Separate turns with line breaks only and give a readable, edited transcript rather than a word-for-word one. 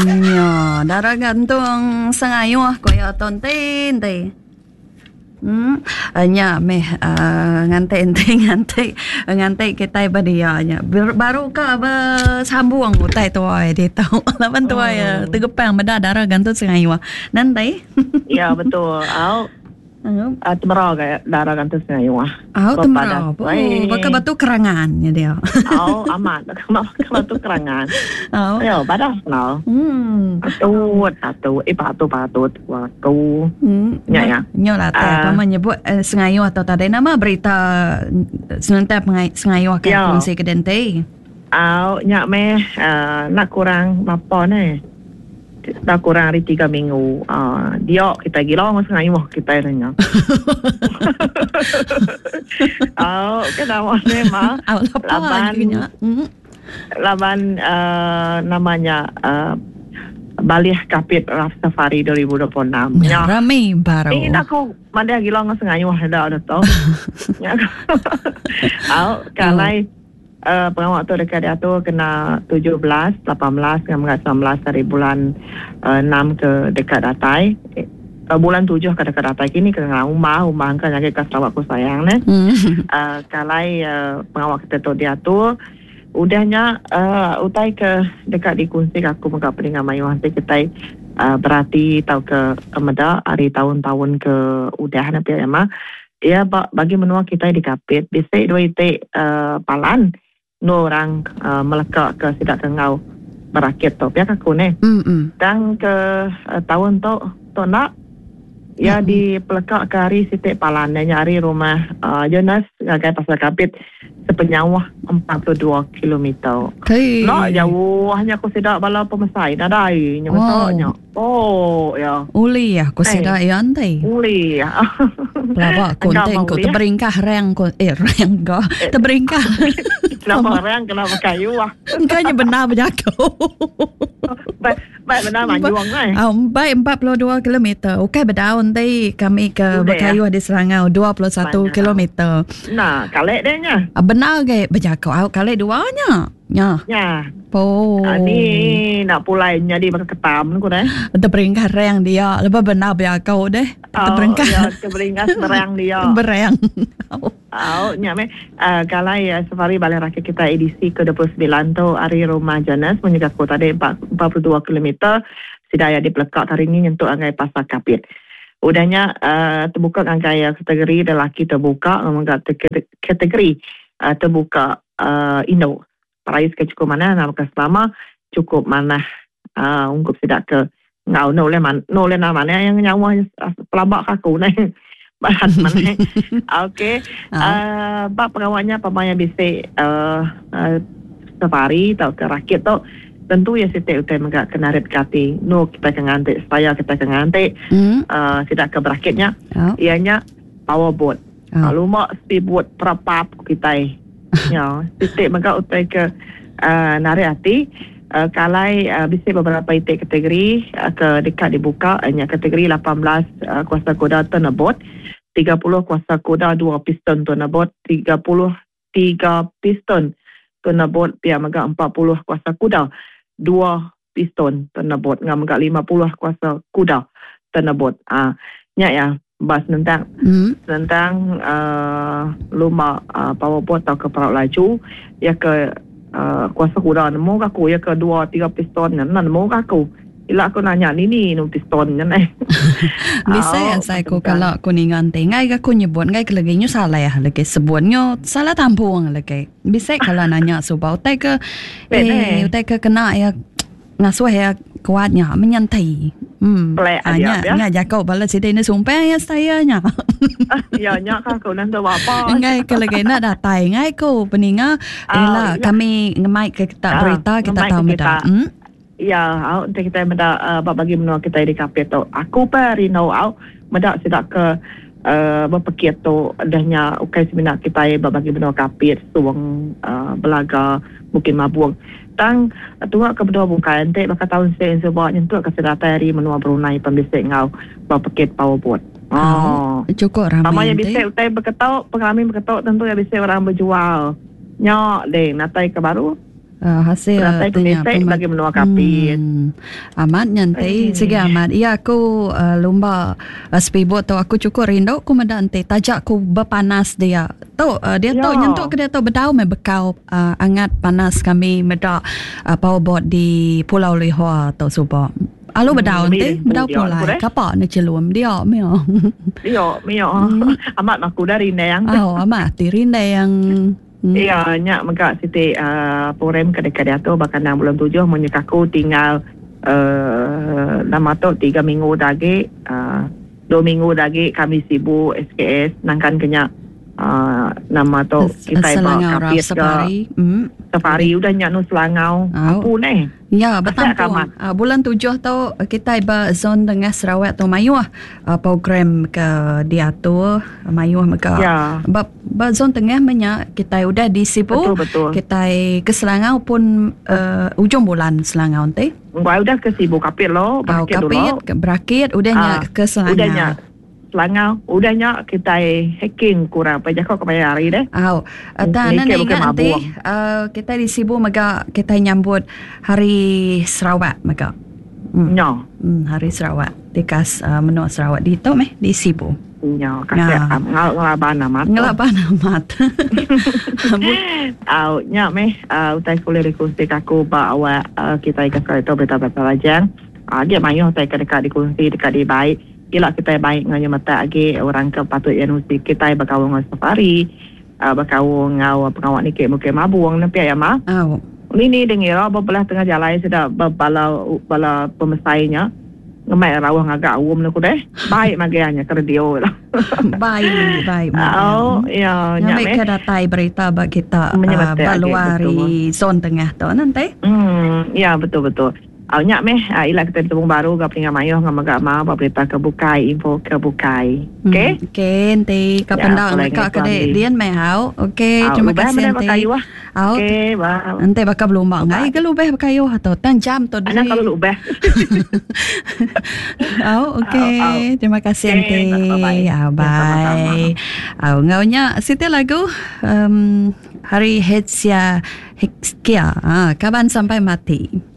Nya, dara gantung sengayuh ku iya tu enti enti. Hmm, nya meh uh, nganti enti nganti nganti kitai ba dia nya. Baru ka besambung utai tuai ditu. Laban tuai oh. tegepang meda dara gantung sengayuh. Nanti.
Ya betul. Au. Uh, temera ga dara gantung sengayuh.
Au temera. Oh, baka batu kerangan nya dia.
Au amat baka batu kerangan. Au. Ayo badas no. Hmm. Patut patut eh patut patut aku.
Hmm. Nya ya. Nya lah uh, pama nyebut eh, sengayuh atau tadi nama berita senentang sengayuh ke ya. kongsi ke dente.
Au nya meh uh, nak kurang bapa ne. Dah kurang ari tiga minggu. Uh, dia kita gila dengan sengayuh kita ni. Oh, kena ni mah.
Laban
hmm. laban uh, namanya uh, Balih Kapit Raft Safari 2026.
Ya, rami baru.
Ini aku mandai gila dengan sengayuh dah dah tu. Ya. Au, kalai oh. Pengawa tu deka diatur kena 17, 18 enggau mega 19 hari bulan 6 ke deka datai. Bulan 7 ke deka datai kini ke ngau umbah umbah engka nyagi ka Sarawak ku sayang neh. Ke alai pengawa kita tu diatur. Udah nya utai ke deka dikunsi aku mega peninga mayuh enti kitai berati tauka meda ari taun-taun ke udah ne pia mah. Iya ba bagi menua kitai di Kapit bisi dua iti palan endur orang meleka ke sida ke enggau berakit tu pia ka aku neh. Tang ke taun tu tu enda iya dipeleka ke ari siti palan iya nya ari rumah Jonas ngagai Pasar Kapit sepenyauh 42 kilometer. Enda jauh nya ku sida bala pemesai nadai nya mesa nya. Oh, ya.
Uli aku eh. sida ya enti.
Uli.
Pelaba aku enti aku teberingkah rang ko eh rang ko eh. teberingkah.
Kenapa rang kenapa kayu ah.
Engkau nya benar berjaku.
Baik, baik benar manjuang
eh. Ah, baik 42 km. Okey bedau enti kami ke berkayuh di Selangau 21 km.
Nah, kalik deh nya.
Ah, benar ke berjaku au kalik dua nya.
Nya. Nya.
Po.
Ah, ni nak pulai nyadi baka ketam ku deh.
Teberingkah rang dia, lepas benar biakau deh.
Oh,
Teberingkah.
Ya, teberingkah berang dia.
Berang.
Oh, nya meh. Uh, kalai uh, safari balai rakyat kita edisi ke-29 tu hari rumah Jonas menyegah ku tadi 42 km sida ya dipelekak hari ni nyentuk angai pasar Kapit. Udahnya uh, terbuka ngagai uh, kategori lelaki terbuka ngomong kategori uh, terbuka uh, indu. Perais ke cukup manah nama ke selama cukup manah uh, ungkup sida ke ngau no oleh man no oleh nama mana yang nyawa pelabak aku ne. Bahan mana. Okey. Uh, bab pengawalnya pemaya bisi uh, uh, safari atau ke rakit tu tentu ya siti utai mega kena rit kati nu kita ke nganti supaya kita ke nganti mm. uh, sida ke berakitnya oh. ianya power boat Oh. Luma speedboat perapap ku kitai. Ya, siti mega utai ke uh, narik ati uh, kalai uh, bisi beberapa iti kategori uh, ke deka dibuka nya kategori 18 uh, kuasa kuda turnabout, 30 kuasa kuda dua piston turnabout, 33 piston turnabout pia mega 40 kuasa kuda dua piston turnabout enggau mega 50 kuasa kuda turnabout. Ah nya ya ba senentang mm. senentang uh, lumba uh, powerboat tauka perau laju ya ke uh, kuasa kuda nemu ke aku ya ke dua tiga piston nya nemu ke aku ila aku nanya nini nu piston nya neh
Bisa asai ku kalau aku ninga enti ngai ga aku nyebut ngai ke lagi nyu salah lagi sebut nyu salah tampung lagi Bisa kalau nanya suba utai ke eh utai ke kena ya ngasuh ya kuat nya menyantai.
Hmm.
Ah, nya
ya.
nya jako bala sida ini sumpah ya saya nya.
ya nya kan aku nanti apa.
Ngai ke lagi nak datai ngai ku peninga ah, ila ya. kami ngemai ke kita ah, berita kita tahu meda.
Hmm. Ya, au enti kita meda uh, ba bagi menua kita di Kapit tu. Aku pa rindu au meda sida ke uh, bepekit tu dah nya ukai semina kitai ba bagi menua Kapit, Song, uh, Belaga, Bukit Mabung. Tang tuak ke menua bukai enti baka taun sik suba nyentuk ke sida datai ari menua Brunei pan bisi enggau bepekit powerboat.
Oh. Cukup ramai.
Pama ya bisi utai beketok, pengerami beketok tentu ya bisi orang berjual. Nya deh natai ke baru.
Hasil
Penatai
tu nya
pemisi bagi menua Kapit.
Amat nya enti sigi amat. Iya aku lumba speedboat tu aku chukup rindu ku meda enti taja ku bepanas dia. Tu diatu nyentuk ke diatu bedau meh bekau angat panas kami meda powerboat di Pulau Lihua tu suba. Alu bedau enti bedau pulai kapa ne chelum dia meh.
Dia meh. Amat aku dah rindang.
Au amat ati rindang.
Iya nya mega siti program ke deka diatur ba kandang bulan tujuh mun nyeka aku tinggal uhh nama tu tiga minggu da agi uhh dua minggu da agi kami sibu SKS nangkan ke nya uhh nama tu kitai ba Kapit ga safari udah nya nu Selangau apu neh.
Ya, betampung. Bulan tujuh tu kitai ba zon tengah Sarawak tu mayuh program ke diatur mayuh mega.
Ya.
Ba ba zon tengah meh nya kitai udah di Sibu,
betul, betul.
kitai ke Selangau pun uh, ujung bulan Selangau enti.
Wai udah ke Sibu Kapit lo,
berakit dulu. Kapit, berakit udah nya ke Selangau.
Udah nya Selangau. Udah nya kitai hiking kurang pa jako kemaya hari deh.
Au. Tang enda
Niki
ingat
bukai
enti
mabung.
kitai di Sibu mega kitai nyambut Hari Sarawak mega.
Nya.
Hari Sarawak tikas menua Sarawak ditu meh di Sibu.
Nya kasih ngelaban amat.
Ngelaban amat.
Au nya meh utai ke ulih dikongsi ka aku ba awak kitai ke sekali tu berita pasal Rajang. Agi mayuh utai ke deka dikongsi deka dibai. Ila kitai bai enggau nyemetak agi orang ke patut iya nusi kitai bekaul enggau safari, bekaul enggau pengawa niki Bukit Mabung ne pia iya mah.
Au.
Ni ni deh ngira ba belah tengah jalai sida bala bala pemesai nya ngemai rauh ngaga aum ne ku deh. Bai magang nya ke radio ila.
Bai bai magang.
Au iya nya
meh. Ngambika datai berita ba kita ba luar ari zon tengah tu ne enti.
Emm iya betul betul. Au nya meh ila kitai betemu baru ga peninga mayuh enggau mega mau ba berita ke bukai info ke bukai.
Okey. Okey enti ka penda neka ke dek din meh au. Okey terima kasih enti.
Au. Okey bye.
Enti baka belumba enggai ga lubeh bekayuh tu tang jam tu
diri. Anang kelalu lubeh.
Au okey terima kasih enti. Au bye. Au enggau nya siti lagu um hari Hezia Hizkia kaban sampai mati.